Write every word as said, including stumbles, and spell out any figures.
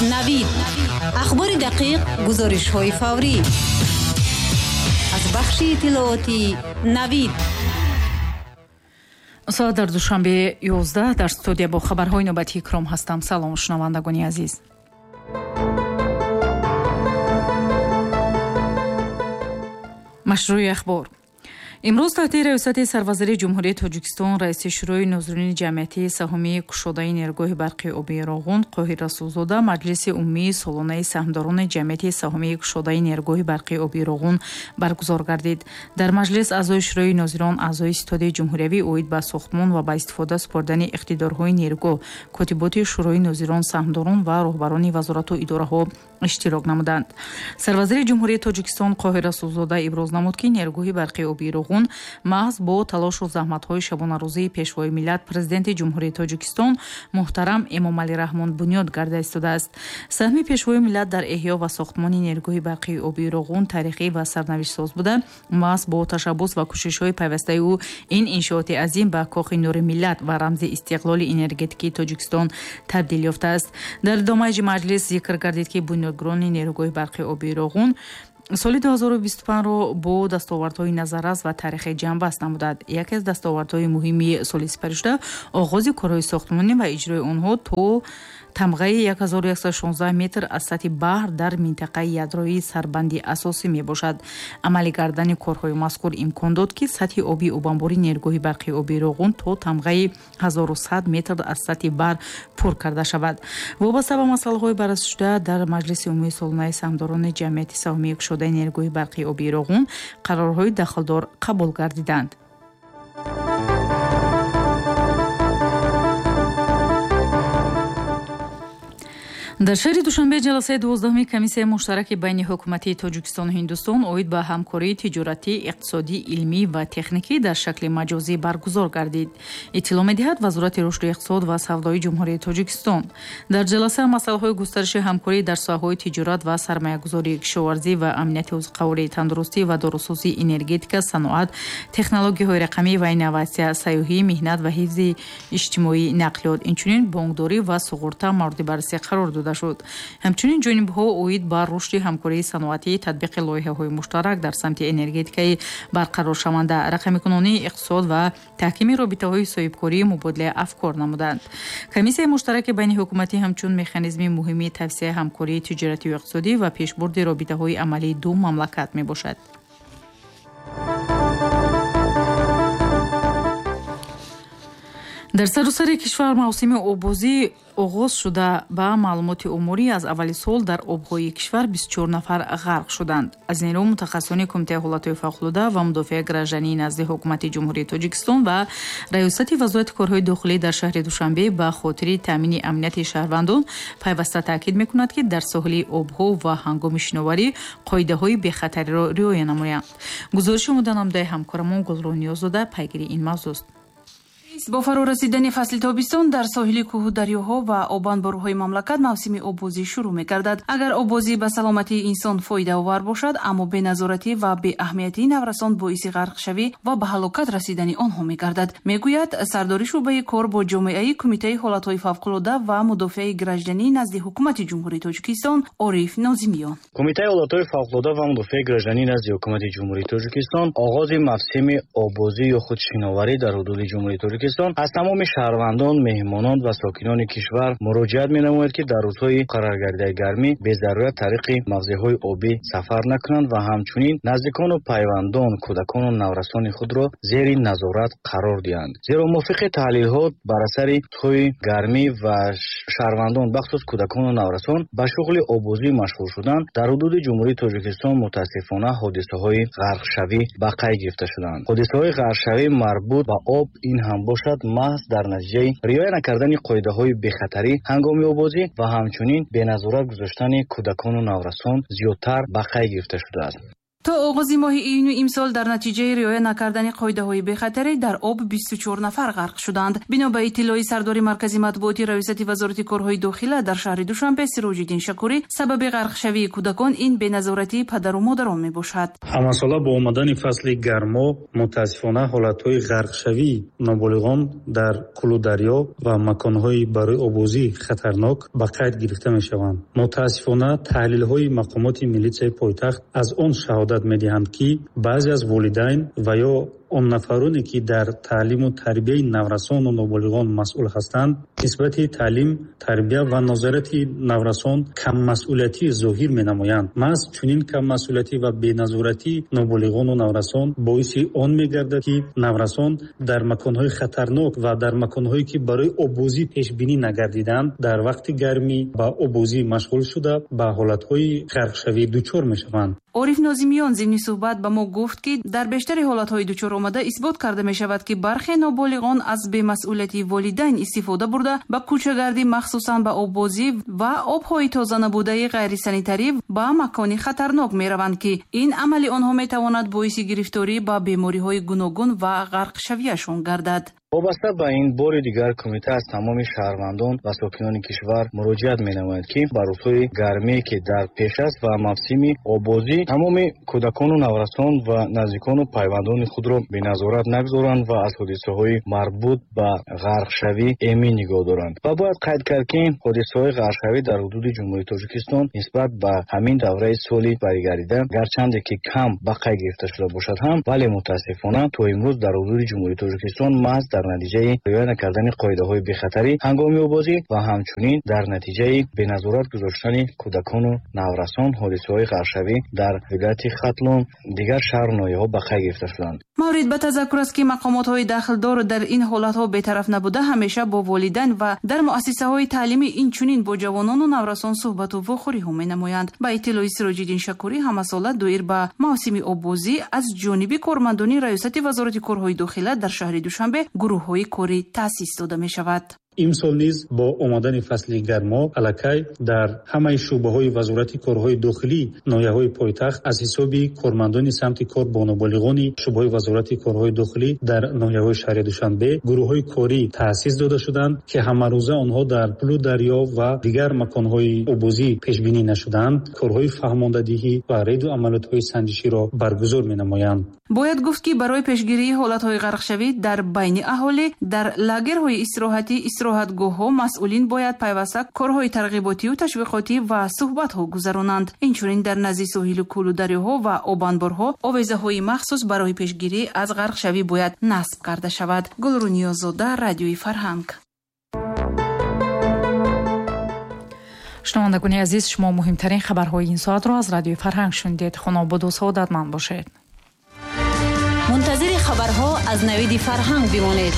Навид, ахбори дақиқ, гузоришҳои фаврӣ аз бахши иттилоотии Навид. Соат дар Душанбе ёздаҳ, дар студия бо хабарҳои навбатии Икром ҳастам. Салом, шунавандагони азиз. Машрӯи ахбор. Имрӯз таҳти раёсати сарвазири Ҷумҳурии Тоҷикистон, раиси Шӯрои нозирони ҷамъиятии саҳомии кушодаи нерӯгоҳи барқи обии Роғун Қоҳир Расулзода маҷлиси умумии солонаи саҳмдорони ҷамъияти саҳомии кушодаи нерӯгоҳи барқи обии Роғун баргузор гардид. Дар маҷлис аъзои Шӯрои нозирон, аъзои ситоди ҷумҳуриявӣ оид ба сохтмон ва ба истифода супоридани иқтидорҳои нерӯгоҳ, котиботи Шӯрои нозирон, саҳмдорон ва роҳбарони вазорату идораҳо иштирок намуданд. Сарвазири Ҷумҳурии Тоҷикистон Қоҳир Расулзода иброз намуд, ки нерӯгоҳи барқи обии Роғун маҳз бо талошу заҳматҳои шабонарӯзии Пешвои миллат, Президенти Ҷумҳурии Тоҷикистон муҳтарам Эмомалӣ Раҳмон бунёд гарда истодааст. Саҳми Пешвои миллат дар эҳё ва сохтмони нерӯгоҳи барқии обии Роғун таърихӣ ва сарнавиштсоз буда, маҳз бо ташаббус ва кӯшишҳои пайвастаи ӯ ин иншооти азим ба кохи нури миллат ва рамзи истиқлоли энергетикии Тоҷикистон табдил ёфтааст. Дар идомаи маҷлис зикр гардид, ки бунёдгирони нерӯгоҳи барқи обии Роғун соли ду ҳазору бисту панҷро бо дастовардҳои назаррас ва таърихи ҷамъбаст намуданд. Яке аз дастовардҳои муҳими соли сипаришуда оғози корҳои сохтмонӣ ва иҷрои онҳо то тамғаи як ҳазору яксаду шонздаҳ метр аз сатҳи баҳр дар минтақаи ядроии сарбанди асосӣ мебошад. Амалӣ гардани корҳои мазкур имкон дод, ки сатҳи оби обанбори нерӯгоҳи барқи обии Роғун то тамғаи ҳазору сад метр аз сатҳи баҳр пур карда шавад. Вобаста ба масъалаҳои баррасишуда дар маҷлиси умумии солонаи саҳмдорони ҷамъияти саҳомии кушодаи нерӯгоҳи барқи обии Роғун қарорҳои дахлдор қабул гардиданд. Дар шаҳри Душанбе ҷаласаи дувоздаҳуми комиссияи муштараки байни ҳукуматии Тоҷикистону Ҳиндустон оид ба ҳамкории тиҷоратӣ, иқтисодӣ, илмӣ ва техникӣ дар шакли маҷозӣ баргузор гардид. Иттилоъ медиҳад Вазорати рушди иқтисод ва савдои Ҷумҳурии Тоҷикистон. Дар ҷаласа масъалаҳои густариши ҳамкорӣ дар соҳаҳои тиҷорат ва сармоягузорӣ, кишоварзӣ ва амнияти озуқаворӣ, тандурустӣ ва дорусозӣ, энергетика, саноат, технологияҳои рақамӣ ва инноватсия, сайёҳӣ, меҳнат ва ҳифзи иҷтимоӣ, нақлиёт, инчунин бонкдорӣ ва суғурта мавриди баррасӣ қарор дода шуд. Ҳамчунин ҷонибҳо оид ба рушди ҳамкории саноатӣ, татбиқи лоиҳаҳои муштарак дар самти энергетикаи барқароршаванда, рақамикунонии иқтисод ва таҳкими робитаҳои соҳибкории мубодилаи афкор намуданд. Комиссияи муштараки байни ҳукуматӣ ҳамчун механизми муҳими тавсияи ҳамкории тиҷоратию иқтисодӣ ва пешбурди робитаҳои амалии ду мамлакат мебошад. Дар саросари кишвар мавсими оббозӣ оғоз шуда, ба маълумоти умурӣ аз аввали сол дар обҳои кишвар бисту чор нафар ғарқ шуданд. Аз ин рӯ мутахассисони Кумитаи ҳолатҳои фавқулода ва мудофиаи граждании назди ҳукумати Ҷумҳурии Тоҷикистон ва раёсати Вазорати корҳои дохилӣ дар шаҳри Душанбе ба хотири таъмини амнияти шаҳрвандон пайваста таъкид мекунад, ки дар соҳили обҳо ва ҳангоми шиноварӣ қоидаҳои бехатариро риоя намоянд. Гузориши омоданамудаи ҳамкорамон Гулрӯ Ниёззода пайгири ин мавзӯст. Бо фарорасидани фасли тобистон дар соҳили кӯҳу дарёҳо ва обанборҳои мамлакат мавсими оббозӣ шурӯъ мегардад. Агар оббозӣ ба саломатии инсон фоидаовар бошад, аммо беназоратӣ ва беаҳамиятии наврасон боиси ғарқшавӣ ва ба ҳалокат расидани онҳо мегардад, мегӯяд сардори шӯъбаи кор бо ҷомеаи Кумитаи ҳолатҳои фавқулода ва мудофиаи граждании назди ҳукумати Ҷумҳурии Тоҷикистон Ориф Нозимиён. Кумитаи ҳолатҳои фавқулода ва мудофиаи граждании назди ҳукумати Ҷумҳурии Тоҷикистон оғози мавсими оббозӣ ё худ шиноварӣ дар ҳудуди Ҷумҳурии Тоҷикистон аз тамоми шаҳрвандон, меҳмонон ва сокинони кишвар муроҷиат менамояд, ки дар рӯзҳои муқарраргардидаи гармӣ безарурат тариқи мавзеъҳои обӣ сафар накунанд ва ҳамчунин наздикону пайвандон, кӯдакону наврасони худро зери назорат қарор диҳанд. Зеро мувофиқи таҳлилҳо бар асари рӯзҳои гармӣ ва шаҳрвандон, бахусус кӯдакону наврасон ба шуғли оббозӣ машғул шудан дар ҳудуди Ҷумҳурии Тоҷикистон мутаассифона ҳодисаҳои ғарқшавӣ ба қайд гирифта шуданд. Ҳодисаҳои ғарқшавӣ марбут ба об ин ҳам бошад маҳз дар натиҷаи риоя накардани қоидаҳои бехатарӣ ҳангоми оббозӣ ва ҳамчунин беназорат гузоштани кӯдакону наврасон зиёдтар ба қайд гирифта шудааст. То оғози моҳи июни имсол дар натиҷаи риоя накардани қоидаҳои бехатарӣ дар об бисту чор нафар ғарқ шуданд. Бино ба иттилои сардори маркази матбуоти раёсати вазорати корҳои дохила дар шаҳри Душанбе Сироҷиддин Шакурӣ, сабаби ғарқшавии кӯдакон ин беназоратии падару модарон мебошад. Ҳамасола бо омадани фасли гармо мутаассифона ҳолатҳои ғарқшавии ноболиғон дар кӯлу дарё ва маконҳои барои обозӣ хатарнок ба қайд гирифта мешаванд. Мутаассифона таҳлилҳои мақомоти милитсияи пойтахт аз он шаҳодат медиҳанд, ки баъзе аз волидайн ва ё он нафароне, ки дар таълиму тарбияи наврасону ноболиғон масъул ҳастанд, нисбати таълим, тарбия ва назорати наврасон каммасъулиятӣ зоҳир менамоянд. Маҳз чунин каммасъулиятӣ ва беназоратии ноболиғону наврасон боиси он мегардад, ки наврасон дар маконҳои хатарнок ва дар маконҳое, ки барои обозӣ пешбинӣ нагардиданд, дар вақти гармӣ ба обозӣ машғул шуда ба ҳолатҳои ғарқшавӣ дучор мешаванд. Ориф Нозимиён зимни суҳбат ба мо гуфт, ки дар бештари ҳолатҳои дучор омада исбот карда мешавад, ки бархе ноболиғон аз бемасъулияти волидайн истифода бурда ба кӯчагардӣ, махсусан ба оббозӣ ва обҳои тоза набудаи ғайрисанитарӣ ба макони хатарнок мераванд, ки ин амали онҳо метавонад боиси гирифторӣ ба бемориҳои гуногун ва ғарқшавиашон гардад. Вобаста ба ин бори дигар кумита аз тамоми шаҳрвандон ва сокинони кишвар муроҷиат менамояд, ки ба рӯзҳои гармие, ки дар пеш аст ва мавсими обозӣ, тамоми кӯдакону наврасон ва наздикону пайвандони худро беназорат нагузоранд ва аз ҳодисаҳои марбут ба ғарқшавӣ эмин нигоҳ доранд. Ва бояд қайд кард, ки ҳодисаҳои ғарқшавӣ дар ҳудуди Ҷумҳурии Тоҷикистон нисбат ба ҳамин давраи соли баригарида гарчанде ки кам ба қайд гирифта шуда бошад ҳам, вале мутаассифона то имрӯз дар ҳудуди Ҷумҳурии Тоҷикистон маҳз дар натиҷаи риоя накардани қоидаҳои бехатарӣ ҳангоми обозӣ ва ҳамчунин дар натиҷаи беназорат гузоштани кӯдакону наврасон ҳодисаҳои ғарқшавӣ дар вилояти Хатлон, дигар шаҳру ноҳияҳо ба қайд гирифта шуданд. Маврид ба тазаккур аст, ки мақомотҳои дахлдор дар ин ҳолатҳо бетараф набуда ҳамеша бо волидайн ва дар муассисаҳои таълимӣ инчунин бо ҷавонону наврасон суҳбату вохӯриҳо менамоянд. Ба иттилои Сироҷиддин Шакурӣ, ҳамасола доир ба мавсими оббозӣ аз ҷониби кормандони раёсати вазорати корҳои дохила дар шаҳри Душанбе гурӯҳҳои корӣ таъсис дода мешавад. Имсол низ бо омадани фасли гармо аллакай дар ҳамаи шӯъбаҳои вазорати корҳои дохилӣ ноҳияҳои пойтахт аз ҳисоби кормандони самти кор бо ноболиғони шӯъбаҳои вазорати корҳои дохилӣ дар ноҳияҳои шаҳри Душанбе гурӯҳҳои корӣ таъсис дода шуданд, ки ҳамарӯза онҳо дар кӯлу дарё ва дигар маконҳои обозӣ пешбинӣ нашуданд, корҳои фаҳмондадиҳӣ ва рейду амалиётҳои санҷиширо баргузор менамоянд. Бояд гуфт, ки барои пешгирии ҳолатҳои ғарқшавӣ дар байни аҳолӣ дар лагерҳои истироҳатӣ, истироҳатгоҳҳо масъулин бояд пайваста корҳои тарғиботию ташвиқотӣ ва суҳбатҳо гузаронанд. Инчунин дар назди соҳилу кӯлу дарёҳо ва обанборҳо овезаҳои махсус барои пешгирӣ аз ғарқшавӣ бояд насб карда шавад. Гулрӯниёзода, Радиои Фарҳанг. Шунавандагони азиз, шумо муҳимтарин хабарҳои ин соатро аз Радиои Фарҳанг шунидед. Хонободу саодатманд бошед. Мунтазири хабарҳо аз Навиди Фарҳанг бимонед.